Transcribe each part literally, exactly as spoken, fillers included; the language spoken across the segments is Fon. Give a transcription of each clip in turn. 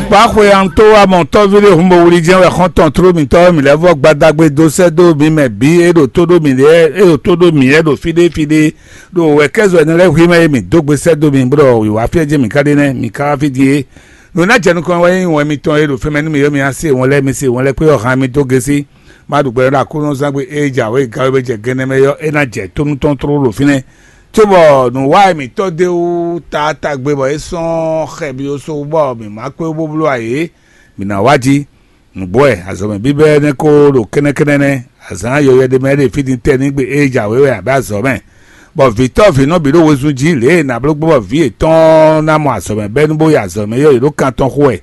Kpáxwe antó amɔ̌tɔ́ví ɖé hun bo wlí jɛ́n wɛ xɔ́ntɔn tló mǐtɔn mǐ lɛ́ vɔ́ gbadagbe dó sɛ́ dó mi mɛ bǐ e ɖo tó ɖó mǐ lɛ́ɛ e ɖo tó ɖó mǐ lɛ́ɛ ɖo fí ɖé fí ɖé, ɖo wɛ̌kɛ́zɔ́ ɛnɛ lɛ́ɛ hwí mɛ e mǐ dó gbe sɛ́ dó mi bó ɖɔ wǐwá fí e jɛ́n mǐ ka ɖe nɛ́, mǐ ka wá fí din é. Nǔ e ná jɛ nukɔn wɛ nyí wɛn mitɔn e ɖo fɛ́mɛ nú mǐ é mi ná se wɔn lɛ́ɛ mi se wɔn lɛ́ɛ kpé ɔ́ han mi dó gésí. Má ɖu gbɛ ɖɔ Aklúnɔzán gbe e jǎwe gǎwe bɔ jɛ gɛnɛ mɛ ɔ́, é ná jɛ tónú tɔn tlóló ɖo fínɛ́. Cóbɔ nǔwanyi mǐtɔn d'é wú taatagbe bɔ é sɔ́ xɛ byɔ́ só bɔ mǐ má kpé bó bló ayǐ é, mǐ ná wá jí. Nǔgbó wɛ azɔ̌mɛ bíbɛ́ nɛ́ kó ɖo kɛ́nɛ́kɛ́nɛ́ nɛ́, azǎn yɔywɛ ɖé mɛ ɖe fí din tɛ́ ní gbe e jǎwe wɛ abǐ azɔ̌ mɛ, bɔ vǐtɔ́ vǐnɔ bǐ ɖo wezun jí lě e è nǎ bló gbɔn bɔ vǐ yětɔn ná mɔ azɔ̌mɛ bɛ́ nú bó yi azɔ̌mɛ yɔ́yǐ ɖó kan tɔn xo wɛ,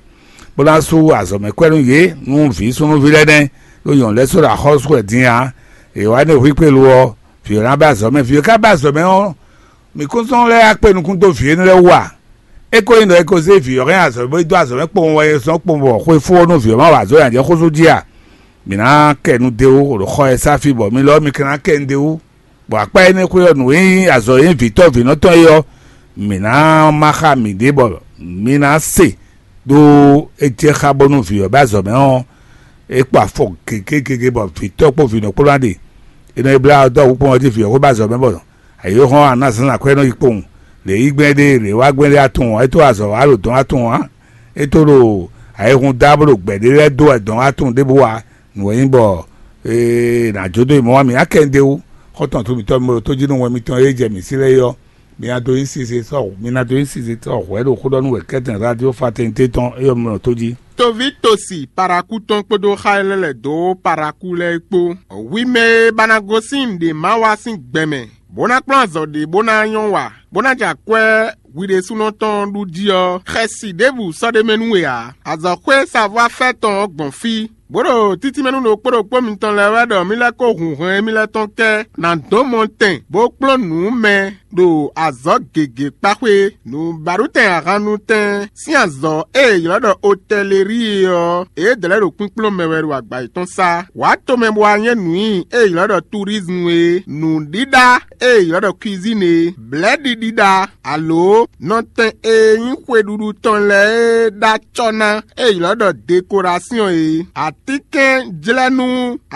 bó ná sú azɔ̌mɛ kwɛ́ nú yě nú vǐ súnnuví lɛ́ɛ nɛ́ ɖo nyɔ̌nu lɛ́ɛ só ɖo axɔ́sú wɛ din ǎ. È wǎ nú hwíkpélu ɔ́, vǐ ɔ́ ná bɛ́ azɔ̌ mɛ. Vǐ ɔ́ ka bɛ́ azɔ̌ mɛ ɔ́, mǐ kún zɔ́n lɛ́ wá kpe nukún dó vǐ énɛ́ lɛ́ɛ wú a? É ko nyí ɖɔ è ko zé vǐ ɔ́ hɛn azɔ̌ bó yi dó azɔ̌ mɛ kpowun wɛ è zɔ́n kpowun bɔ xwefó ɔ́ nú vǐ ɔ́ má wa azɔ̌ nyi ajɛ xózú jí a? Mǐ ná kɛ nu d'é wú ɖo xɔ e sá fí bɔ mi lɔ ɔ́ mi ka ná kɛ nu d'é wú, bɔ akpá énɛ́ xwé ɔ́ nǔ e nyí azɔ̌ e nyí vǐtɔ́ vǐnɔ tɔn é ɔ́, mǐ ná má xá mǐɖée bɔ mi ná se ɖó é jɛ xá bónú vǐ ɔ́ bɛ́ azɔ̌ mɛ ɔ́, é kpo afɔ gěgé gěgé bɔ vǐtɔ́ kpó vǐnɔ kpó ná ɖe. È nɔ yi blá ɔ́ dó awǔkpɔ́n ɔ́ jí vǐ ɔ́ xwé bɛ́ azɔ̌ mɛ bɔ ayǐhɔ́n aná zǎnzǎn kwɛ́ nɔ yi kpowun. Lě yí gbɛn ɖé lě wá gbɛn ɖé atun ɔ́, é tó azɔ̌ wá ɖo dɔn atun ǎ. É tó ɖo ayihún dá bó ɖo gbɛ̌ ɖé lɛ́ɛ dó wɛ dɔn atun ɖěbǔ wá. Nǔ e nyí bɔ ee nǎ jó dó yi mɔ̌ wá mǐ ná kɛ ɖ'é wú. Xɔ́ntɔn to mǐtɔn mi ɖo tó jí nú wɛn mitɔn e jɛ mǐ sí lɛ́ɛ é ɔ́, mi ná dó nyí size sɔ́ mi ná dó nyí size sɔ́ hwɛ̌ ɖo xó ɖɔ nú wɛ kɛ́tɛn radio fraternité tɔn é ɔ́ mi ɖo tó jí. Toví tosi paraku tɔn kpódó xá e lɛ́ lɛ̌ dó paraku lɛ́ɛ kpó. Hwi mɛ e ba ná gosín nǔɖé má wa sín gbɛ mɛ, bó ná kplɔ́n azɔ̌ ɖé bó ná nyɔ́ wa, bó ná jɛ akwɛ́ hwi ɖésúnɔ tɔn ɖu jí ɔ́, xɛsi ɖěbǔ sɔ́ ɖ'é mɛ nú we ǎ. Azɔ̌xwé savɔ́ afɛ́ tɔn ɔ́ gbɔn fí, bó ɖo títínmɛ nú ɖokpó ɖokpó mitɔn lɛ́ɛ wɛ ɖɔ mí lɛ́ kó hun hɔn émí lɛ́ɛ tɔn kɛ ná dó mɔ tɛn bó kplɔ́n nǔ mɛ ɖo azɔ̌ gěgé kpá xwé. Nǔbaɖutɛn ahannutɛn sín azɔ̌ e è ylɔ́ ɖɔ otɛleríi é ɔ́, yědɛɛ lɛ́ɛ ɖo kpínkplɔ́n mɛ wɛ ɖo agba yětɔn sá. Wǎ tomɛ bó wá nyɛ́ nǔ nyi e è ylɔ́ ɖɔ turizmu é, nǔɖíɖá e è ylɔ́ ɖɔ kwizín é, blɛ̌ɖiɖíɖá, alo nɔtɛn e nyí xweɖuɖu tɔn lɛ́ɛ e ɖó acɔ́ ná e è ylɔ́ ɖɔ dekorasyɔn é, atínkɛnjlɛ́nú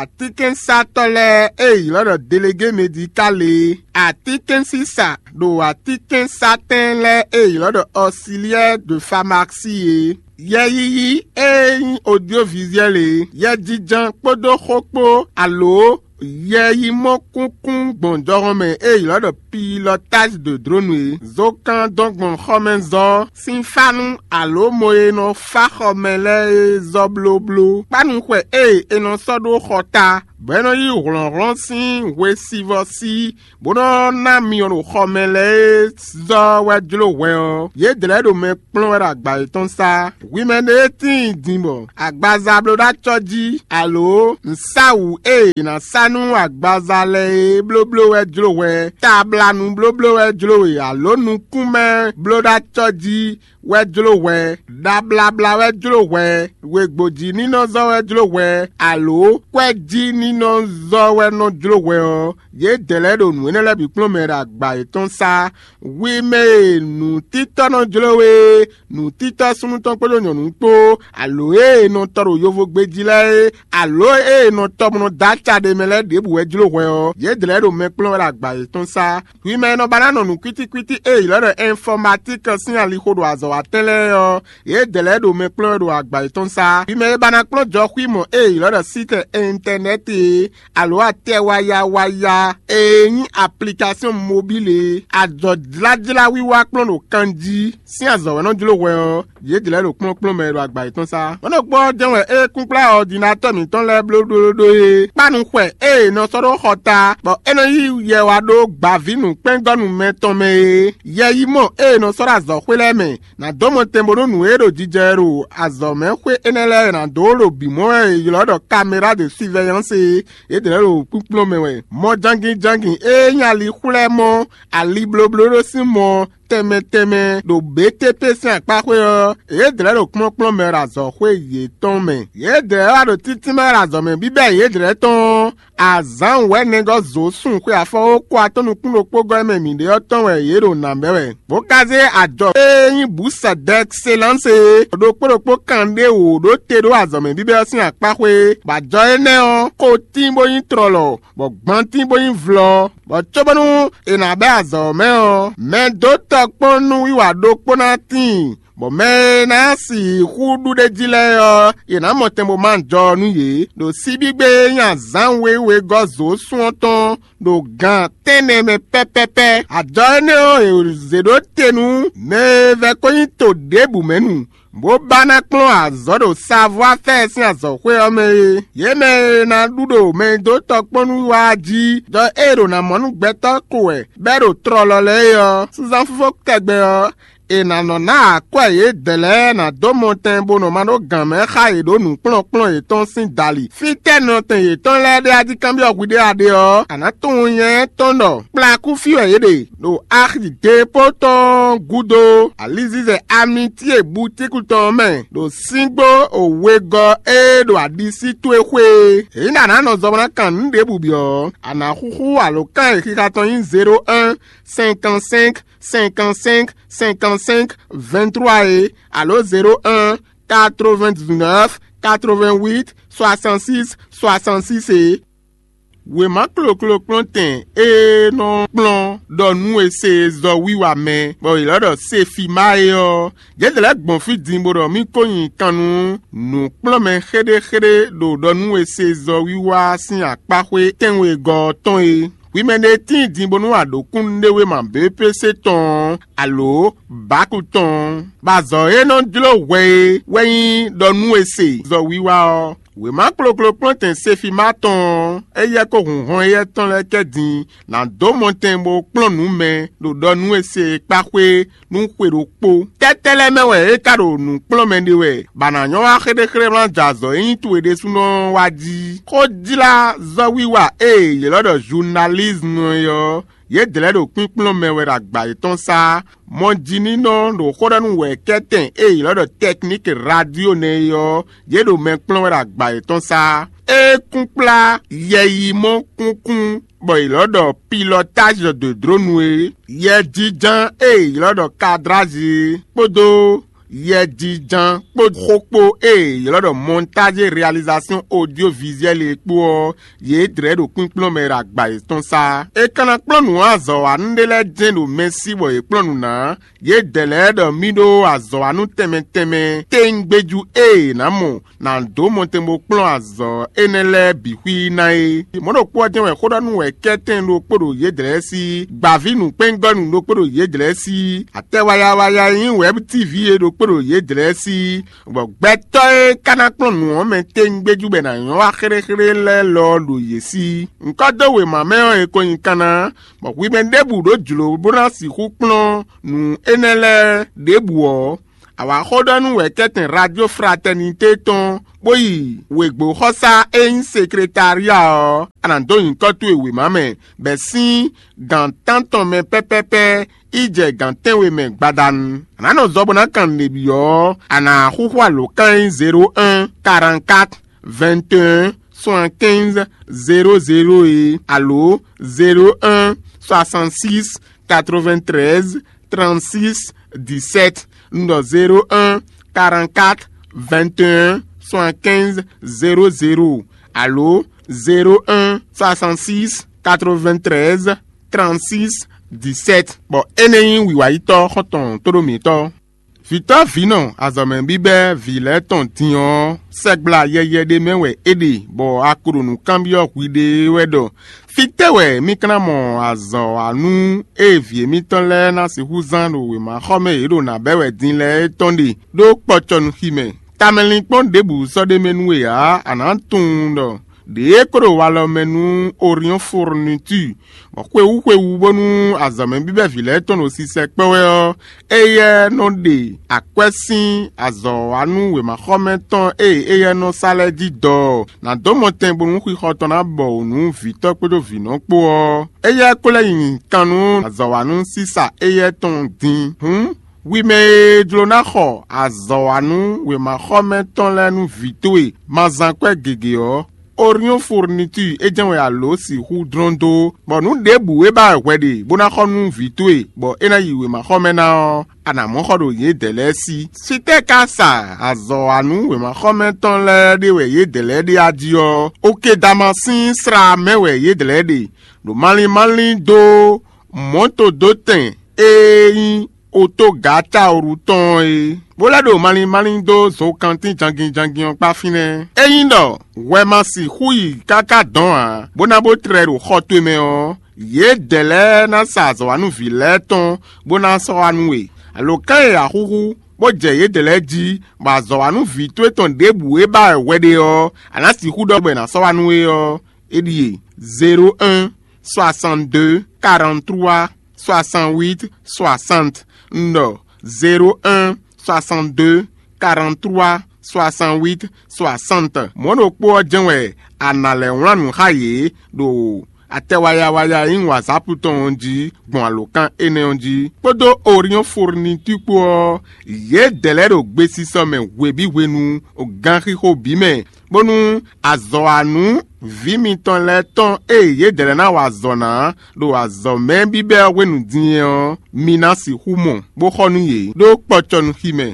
atínkɛnsatɔ́ lɛ́ɛ e è ylɔ́ ɖɔ delegé medikál é, atínkɛnsisa ɖo atínkɛnsatɛn lɛ́ɛ e è ylɔ́ ɖɔ ɔsiliyɛ́ de famasí é, yɛyiyi e nyí odyovizyɛ́l é, yɛjijɛ kpódó xó kpó, alo yɛ yi mɔ kúnkún gbɔn jɔhɔn mɛ e ylɔ́ ɖɔ pilɔtázi dǒdlónu é. Zokan dɔn gbɔn xɔmɛzɔ́ sín fá nú alo mɔ e nɔ fá xɔmɛ lɛ́ɛ é zɔ́ blóbló. Kpánu xwɛ e è nɔ sɔ́ ɖó xɔ ta, bɔ é nɔ yí hlɔ̌nhlɔ́n sín hwesivɔ́ sí, bó nɔ́ ná myɔ ɖo xɔmɛ lɛ́ɛ é zɔ́ wɛ jló hwɛ ɔ́, yědɛɛ lɛ́ɛ ɖo mɛ kplɔ́n wɛ ɖo agba yětɔn sá. Hwi mɛ ɖé e tíin din bɔ agbaza bló ɖó acɔ́ jí, alo nǔsáwǔ e è nǎ sá nú agbaza lɛ́ɛ é blóbló wɛ jló hwɛ, tablanu blóbló wɛ jló we, alo nukúnmɛ bló ɖó acɔ́ jí wɛ jló hwɛ, ɖablabla wɛ jló hwɛ, wěgbójínínɔzɔ́ wɛ jló hwɛ, alo kwɛ́jínínɔzɔ́ wɛ nɔ jló hwɛ ɔ́, yědɛɛ lɛ́ɛ ɖo nǔ énɛ́ lɛ́ɛ bǐ kplɔ́n mɛ ɖo agba yětɔn sá. Hwi mɛ e nǔtítɔ́ nɔ jló we é, nǔtítɔ́ súnnu tɔn kpódó nyɔ̌nu kpó, alo e è nɔ tɔ ɖo yovogbe jí lɛ́ɛ é, alo e è nɔ tɔ bó nɔ dó aca ɖe mɛ lɛ́ɛ ɖěbǔ wɛ jló hwɛ ɔ́, yědɛɛ lɛ́ɛ ɖo mɛ kplɔ́n wɛ ɖo agba yětɔn sá. Hwi mɛ e nɔ ba ná nɔ nǔ kwítíkwítí e è ylɔ́ ɖɔ ɛnfɔmatík sín alixo ɖo azɔ̌watɛ́n lɛ́ɛ ɔ́, yědɛɛ lɛ́ɛ ɖo mɛ kplɔ́n wɛ ɖo agba yětɔn sá. Hwi mɛ e ba ná kplɔ́n jɔxwímɔ e è ylɔ́ ɖɔ sítɛ ɛntɛnɛ́ti é, alo atɛ waya waya e nyí aplikasyon mobíl é, ajɔ̌jlájlá wiwa kplɔ́n ɖo kan jí sín azɔ̌ wɛ nɔ jló hwɛ ɔ́, yě jlɛ̌ ɖo kplɔ́nkplɔ́n mɛ e ɖo agba yětɔn sá. Mɔ̌ ɖokpó ɔ́ jɛ́n wɛ é kúnklá ɔdinatɔ́ mǐtɔn lɛ́ɛ blóɖóɖó é. Kpánu xwɛ e è nɔ sɔ́ ɖó xɔ ta, bɔ é nɔ yí yɛ wá ɖó gbǎvínǔkpɛ́ngɔ́nú mɛ tɔn mɛ é. Yɛ yi mɔ e è nɔ sɔ́ ɖó azɔ̌xwé lɛ́ɛ mɛ, nǎ dó mɔ tɛn bónú nǔ e ɖo jijɛ wɛ ɖo azɔ̌mɛxwé énɛ́ lɛ́ɛ ná dó ɖo bǐ mɔ wɛ è ylɔ́ ɖɔ kaméra de sivɛyánse é. Yědɛɛ lɛ́ɛ ɖo kpínkplɔ́n mɛ wɛ. Mɔ jangin jangin e nyí ali xwlɛ́ mɔ ali blóbló ɖó sín mɔ tɛnmɛ tɛnmɛ ɖo B T P sín akpáxwé ɔ́, yědɛɛ lɛ́ɛ ɖo kplɔ́nkplɔ́n mɛ ɖo azɔ̌xwé yětɔn mɛ. Yědɛɛ lɛ́ɛ wá ɖo títínmɛ ɖo azɔ̌ mɛ bíbɛ́ yědɛɛ lɛ́ɛ tɔn ɔ́, Azǎn wɛ̌nɛgɔ́ zǒ sun xwe afɔwókó atɔ́ nukún ɖokpó gɔ́ e mɛ mǐ ɖe ɔ́ tɔn wɛ yě ɖo nǎ bɛ́ wɛ, bó ka zé ajɔ e nyí bǔ sɛdɛkselánse é ɖokpó ɖokpó kanɖé wǒ ɖó te ɖó azɔ̌mɛ bíbɛ́ ɔ́ sín akpáxwé, bɔ ajɔ énɛ́ ɔ́, xo tín bó nyí tlɔlɔ, bɔ gban tín bó nyí vlɔ́, bɔ cóbónú è nǎ bɛ́ azɔ̌ ɔ́ mɛ ɔ́, mɛ dó tɔkpɔ́n nú wiwa ɖokpó ná tíin, bɔ mɛ e ná sixú ɖu ɖ'é jí lɛ́ɛ ɔ́, yě ná mɔ tɛn bó má jɔ nú yě, ɖo síbígbe e nyí azǎn wěwé gɔ́ zǒ sun ɔ́ tɔn ɖo gan tɛ́nnɛ mɛ pɛ́pɛ́pɛ́. Ajɔ énɛ́ ɔ́, è zě ɖó te nú mɛ e vɛ́ ko nyí to ɖěbǔ mɛ nu, bó ba ná kplɔ́n azɔ̌ ɖo savɔ́afɛ́ɛ sín azɔ̌xwé ɔ́ mɛ é. Yě mɛ e ná ɖu ɖo mɛ e dó tɔkpɔ́n nú wá jí, ɖɔ ée ɖo ná mɔ nú gbɛtɔ́ ko wɛ bɛ́ ɖo tlɔlɔ lɛ́ɛ é ɔ́, súnzán fífó tɛgbɛ ɔ́, è nǎ nɔ ná akwɛ́ yědɛɛ lɛ́ɛ ná dó mɔtɛn bó nɔ ma ɖó gǎn mɛ xá yě ɖó nǔkplɔ́nkplɔ́n yětɔn sín dali. Fítɛ́ nɔtɛn yětɔn lɛ́ɛ ɖe a jí kanbyɔ́ hwi ɖé a ɖe ɔ́, a nǎ tunwun nyɛ tɔn ɖɔ kplakú fí wɛ yě ɖe, ɖo axi depo tɔn gúdo, alizizɛ amitíe butíku tɔn ɔ́ mɛ, ɖo síngbó wegɔ́ e ɖo aɖisí towe xwé é. Ényí ɖɔ a nǎ nɔ zɔ bó ná kan nǔ ɖěbǔ byɔ́ ɔ́, a nǎ xúxú alǒkan e xixa tɔn nyí zéro un, cinquante cinq, cinquante cinq, cinquante cinq, vingt trois é, alo zéro un, quatre vingt dix neuf, quatre vingt huit, soixante six, soixante six é. Wěma kloklokplɔ́ntɛn e nɔ kplɔ́n ɖɔ nú è se zɔ wiwa mɛ, bɔ è lɔ́ ɖɔ Sefima é ɔ́, yědɛɛ lɛ́ɛ gbɔn fí din bó ɖɔ mì ko nyi kan nú nǔkplɔ́nmɛ xéɖéxéɖé ɖo ɖɔ nú è se zɔ wiwa sín akpáxwé tɛ́nwegɔ́ ɔ́ tɔn é. Hwi mɛ ɖé tíin din bónú a ɖǒ kúnnuɖewéma B P C tɔn ɔ́, alo Baku tɔn ɔ́, bɔ azɔ̌ e nɔ jló hwɛ é wɛ nyí ɖɔ nú è se zɔ wiwa ɔ́. Wěma kloklokplɔ́ntɛn Sefima tɔn ɔ́, éyɛ́ kó hun hɔn éyɛ́ tɔn lɛ́ɛ kɛ din ná dó mɔtɛn bó kplɔ́n nǔ mɛ ɖo ɖɔ nú è se e kpá xwé nú xwe ɖokpó. Tɛ́tɛ́ lɛ́ɛ mɛ wɛ é ka ɖo nǔ kplɔ́n mɛ ɖe wɛ, bɔ a nǎ nyɔ́ wá xéɖéxéɖé wlán jɛ azɔ̌ e nyí towe ɖésúnɔ ɔ́ wá jí? Xójlázɔ́wiwa e è ylɔ́ ɖɔ zunalízmu é ɔ́, yědɛɛ lɛ́ɛ ɖo kpínkplɔ́n mɛ wɛ ɖo agba yětɔn sá. Mɔjininɔ ɖo xó ɖɔ nú wɛ̌kɛ́tɛn e è ylɔ́ ɖɔ tɛkníki radio nɛ́ é ɔ́, yě ɖo mɛ kplɔ́n wɛ ɖo agba yětɔn sá. É kún kplá yɛyimɔ kúnkún bɔ è ylɔ́ ɖɔ pilɔtázi de dronu é, yɛjínján e è ylɔ́ ɖɔ kadrázi é, kpódó yɛjínján kpó xó kpó e è ylɔ́ ɖɔ montage réalisation audiovisuelle é kpó ɔ́, yě dlɛ̌ ɖo kpínkplɔ́n mɛ ɖo agba yětɔn sá. È ka ná kplɔ́n nǔ azɔ̌wanú ɖé lɛ́ɛ jɛ́n ɖo Mɛsí bɔ yě kplɔ́n nǔ ná. Yědɛɛ lɛ́ɛ ɖɔ mì ɖó azɔ̌wanú tɛnmɛ tɛnmɛ tɛ́ngbéjú e è nǎ mɔ ná dó mɔtɛn bó kplɔ́n azɔ̌ énɛ́ lɛ́ɛ bǐ xwí ná é. Mɔ̌ ɖokpó ɔ́ jɛ́n wɛ xó ɖɔ nú wɛ̌kɛ́tɛn ɖokpó ɖo yědɛɛ sí, gbǎví nǔkpɛ́ngɔ́nú ɖokpó ɖo yědɛɛ sí, atɛ wayawaya e nyí Wɛ̌b T V é ɖokpó ɖo yědɛɛ sí, bɔ gbɛtɔ́ e ka ná kplɔ́n nǔ ɔ́ mɛ tɛ́ngbéjú bɔ è nǎ nyɔ́ wá xéɖéxéɖé lɛ́ɛ lɔ ɔ́ ɖo yě sí. Ŋkɔ́ dó wěma mɛ ɔ́, è ko nyi kanna, bɔ hwi mɛ ɖěbǔ ɖó jlǒ bó ná sixú kplɔ́n nǔ énɛ́ lɛ́ɛ ɖěbǔ ɔ́, a wǎ xó ɖɔ nú wɛ̌kɛ́tɛn Radio Fraternité tɔn, bó yi wěgbóxɔsá e nyí sekretária ɔ́, a nǎ dó nyǐkɔ towe wěma mɛ, bɔ è sín gǎn tántɔn mɛ pɛ́pɛ́pɛ́ yi jɛ gǎn tɛ́nwe mɛ gbadanu. A nǎ nɔ zɔ bó ná kan nǔɖé byɔ́ ɔ́, a nǎ xúxú alǒkan e nyí zéro un, quarante quatre, vingt et un, soixante quinze, zéro zéro é, alo zéro un, soixante six, quatre vingt treize, trente six, dix sept. Un ɖɔ zéro un, quarante quatre, vingt et un, soixante quinze, zéro zéro, alo zéro un, soixante six, quatre vingt treize, trente six, dix sept. Bɔ énɛ́ nyí wǐwayítɔ́ xɔ́ntɔn tóɖó mǐtɔn. Vǐtɔ́ vǐnɔ azɔ̌mɛ bíbɛ́ vǐ lɛ́ɛ tɔn din ɔ́, sɛgbla yɛyɛ ɖé mɛ wɛ é ɖe, bɔ a ko ɖo nǔ kanbyɔ́ hwiɖée wɛ ɖɔ: Fítɛ́ wɛ mì ka ná mɔ azɔ̌wanú e vǐ émítɔn lɛ́ɛ ná sixú zán ɖo wěmaxɔmɛ e yě ɖo nǎ bɛ́ wɛ din lɛ́ɛ é tɔn ɖe ɖó kpɔcɔnúxi mɛ? Tamɛlinkpɔ́n ɖěbǔ sɔ́ ɖ'é mɛ nú we ǎ; a nǎ tunwun ɖɔ ɖě e ko ɖo walɔ mɛ nú Oriɔ́n Fourniture, bɔ xwewú xwewú bónú azɔ̌mɛ bíbɛ́ vǐ lɛ́ɛ tɔn ɖo sisɛ kpɔ́ wɛ ɔ́, éyɛ́ nɔ ɖe akwɛ́ sín azɔ̌wanú wěmaxɔmɛ tɔn e éyɛ́ nɔ sa lɛ́ɛ jí dɔ ɔ́, nǎ dó mɔtɛn bónú xixɔ tɔn ná bɔ wǔ nú vǐtɔ́ kpódó vǐnɔ kpó ɔ́. Éyɛ́ ko lɛ́ nyi kan nú azɔ̌wanú sísa éyɛ́ tɔn din. Hǔn, hwi mɛ e jló ná xɔ azɔ̌wanú wěmaxɔmɛ tɔn lɛ́ɛ nú vǐ towe ma zán kwɛ́ gěgé ɔ́, Orion Fourniture é jɛ́n wɛ a lǒ sixú dlɔ́n dó, bɔ nǔ ɖěbǔ e ba wɛ hwɛ ɖe bó ná xɔ nú vǐ towe, bɔ é ná yi wěmaxɔmɛ ná ɔ́, a nǎ mɔ xɔ ɖo yědɛɛ lɛ́ɛ sí. Sitɛ́ ka sa azɔ̌ wa nú wěmaxɔmɛ tɔn lɛ́ɛ ɖe wɛ yědɛɛ lɛ́ɛ ɖe a jí ɔ́, Okedamasín slá mɛ wɛ yědɛɛ lɛ́ɛ ɖe, ɖo malín malín dó mɔ̌todótɛn e nyí otógǎtaoru tɔn ɔ́ é, bó lɛ́ ɖo malín malín dó zokantín jangin jangin ɔ́ kpá fínɛ́. Ényí ɖɔ hwɛ ma sixú yi káká dɔn ǎ, bó ná bó tlɛ ɖo xɔ towe mɛ ɔ́, yědɛɛ lɛ́ɛ ná sa azɔ̌wanúvǐ lɛ́ɛ tɔn, bó ná sɔ́ wá nú we. Alǒkan e a xúxú, bó jɛ yědɛɛ lɛ́ɛ jí, bɔ azɔ̌wanúvǐ towe tɔn ɖěbǔ e ba wɛ hwɛ ɖe ɔ́, a nǎ sixú ɖɔ bɔ è nǎ sɔ́ wá nú we ɔ́, é ɖíe: zéro un, soixante-deux, quarante-trois, soixante-huit, soixante. Un ɖɔ: zéro un, soixante-deux, quarante-trois, soixante-huit, soixante. Mɔ̌ ɖokpó ɔ́ jɛ́n wɛ a nǎ lɛ́ wlán nǔ xá yě ɖo atɛ waya waya e nyí WhatsApp tɔn ɔ́ jí gbɔn alǒkan énɛ́ ɔ́ jí, kpódó Orion Fourniture kpó ɔ́, yědɛɛ lɛ́ɛ ɖo gbesisɔ mɛ hwebǐ hwenu, ganxixo bǐ mɛ, bónú azɔ̌wanú vǐ mitɔn lɛ́ɛ tɔn e yědɛɛ lɛ́ɛ ná wa azɔ̌ ná ɖo azɔ̌mɛ bíbɛ́ ɔ́ hwenu din é ɔ́, mi ná sixú mɔ, bó xɔ nú yě ɖó kpɔcɔnúxi mɛ.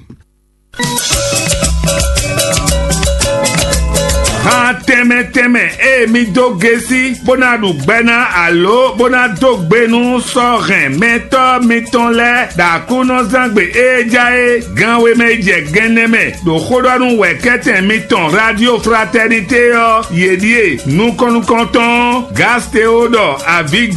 Han tɛnmɛ tɛnmɛ e mi dó gesi bó ná ɖu gbɛ ná alo bó ná dó gbe nú sɔ́ hɛn mɛtɔ́ mitɔn lɛ́ɛ ɖo Aklúnɔzángbe e ja é gan we mɛ jɛ gɛnnɛ mɛ ɖo xó ɖɔ nú wɛ̌kɛ́tɛn mitɔn Radio Fraternité ɔ́, yě ɖíe: nukɔn nukɔntɔn Gasteo ɖɔ avǐ